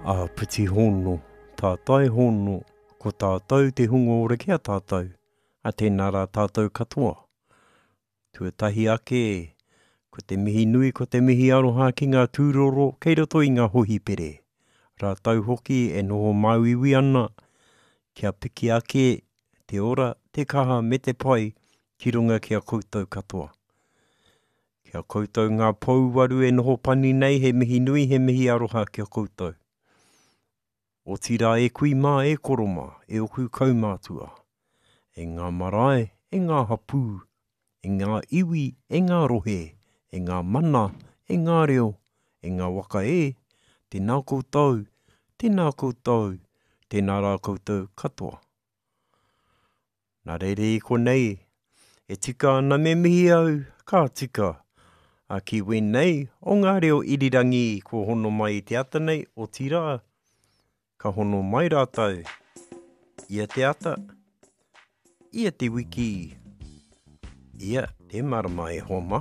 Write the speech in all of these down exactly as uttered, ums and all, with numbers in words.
Āpiti hono, tātai hono, ko tātou te hunga ora ki a tātou, a tēnā rā tātou katoa. Tuatahi ake, ko te mihi nui, ko te mihi aroha ki ngā tūroro kei roto i ngā hohipere. Rātou hoki e noho māuiui ana, kia piki ake te ora, te kaha me te pai ki runga ki a koutou katoa. Kia koutou ngā pouwaru e noho pani nei, he mihi nui, he mihi aroha ki a koutou. Otirā e kui mā, e koro mā, e oku kaumātua, e ngā marae, e ngā hapū, e ngā iwi, e ngā rohe, e ngā mana, e ngā reo, e ngā waka e, tēnā koutou, tēnā koutou, tēnā rā koutou katoa. Nā reira i konei, e tika ana me mihi au, ka tika, a ki wēnei o ngā reo irirangi kua hono mai i te ata nei, otirā, ka hono mai rātou ia te ata, ia te wiki, ia te marama e hoa mā.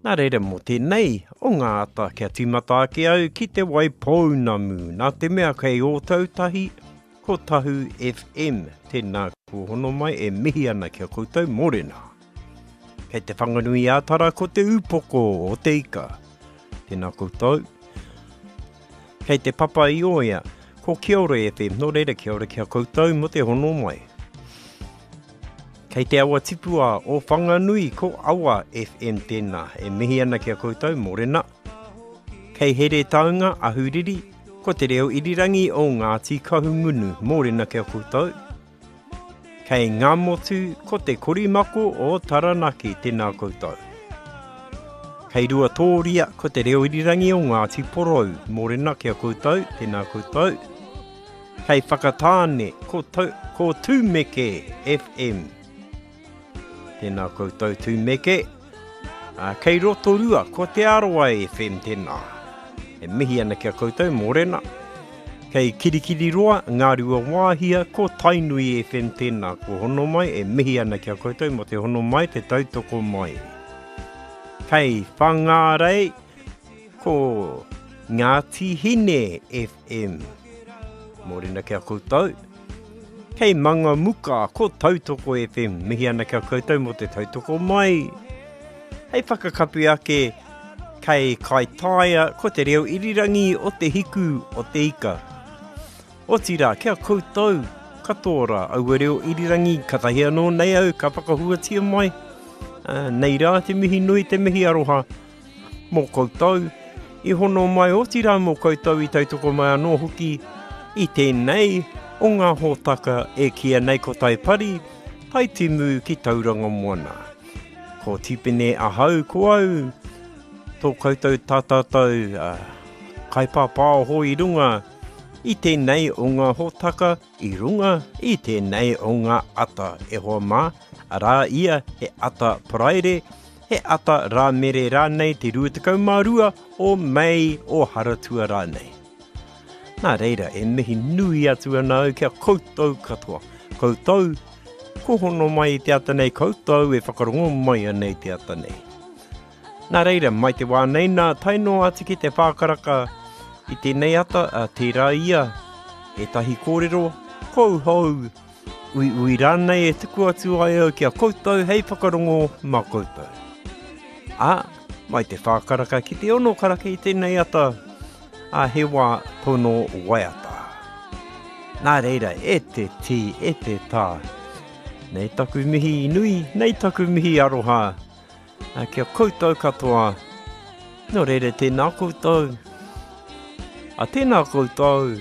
Nā reira mō tēnei o ngā ata kia tīmata ake au ki te Waipounamu, nā te mea kei Ōtautahi ko Tahu F M, tēnā kua hono mai e mihi ana ki a koutou mōrena. Kei te Whanganui ā-Tara ko te upoko o te ika. Tēnā koutou. Kei te Papa i Oia, ko Kia Ora F M, nō reira kia ora ki a koutou mō te hono mai. Kei te awa tipua o Whanganui, ko Awa F M tēnā, e mihi ana ki a koutou, mōrena. Kei Heretaunga, Ahuriri, ko te reo irirangi o Ngāti Kahungunu, mōrena ki a koutou. Kei Ngāmotu, ko te korimako o Taranaki, tēnā koutou. Kei Ruatōria, ko te reo irirangi o Ngāti Porou, mōrena ki a koutou, tēnā koutou. Kei Whakatāne, ko, tau, ko Tūmeke F M. Tēnā koutou Tūmeke. Ā, kei Rotorua, ko Te Arawa F M tēnā. E mihi ana ki a koutou, mōrena. Kei Kirikiriroa, Ngārua Wāhia, ko Tainui F M tēnā. Ko hono mai, e mihi ana ki a koutou mō te hono mai, te tautoko mai. Kei Whangārei, ko Ngāti Hine F M. Mōrena ki a koutou. Kei Mangamuka, ko Tautoko F M. Mihi ana ki a koutou mō te tautoko mai. Hei whakakapi ake, kei Kaitaia, ko te reo irirangi o te hiku o te ika. Otirā, kia koutou katoa rā, aua reo irirangi, katahi anō nei au ka whakahuatia mai. Uh, nei rā te mihi nui, te mihi aroha mō koutou. I hono mai otirā mō koutou i tautoko mai anō hoki i tēnei o ngā hōtaka e kīia nei ko Taipari, Taitimu ki Tauranga Moana. Ko Tipene ahau, ko au, tō koutou tātātou, uh, kaipāpāoho i runga i tēnei o ngā hōtaka, i runga i tēnei o ngā ata e hoa mā, arā ia he ata paraire, he ata rāmere rānei te rua tekau mā rua o Mei o Haratua rānei. Nā reira, e mihi nui atu ana au kia koutou katoa. Koutou, ko hono mai i te ata nei, koutou e whakarongo mai ana i te ata nei. Nā reira, mai te wā nei nā, tae noa atu ki te whākaraka i tēnei ata, a tērā ia, ētahi kōrero, kouhou, ui ui rānei e tuku atu ai au ki a koutou hei whakarongo mā koutou. Ā, mai te whākaraka ki te ono karaka i tēnei ata, a he wā tono waiata. Nā reira, e te tī, e te tā, nei taku mihi nui, nei taku mihi aroha, a kia koutou katoa, nō reira tēnā koutou, a tēnā koutou,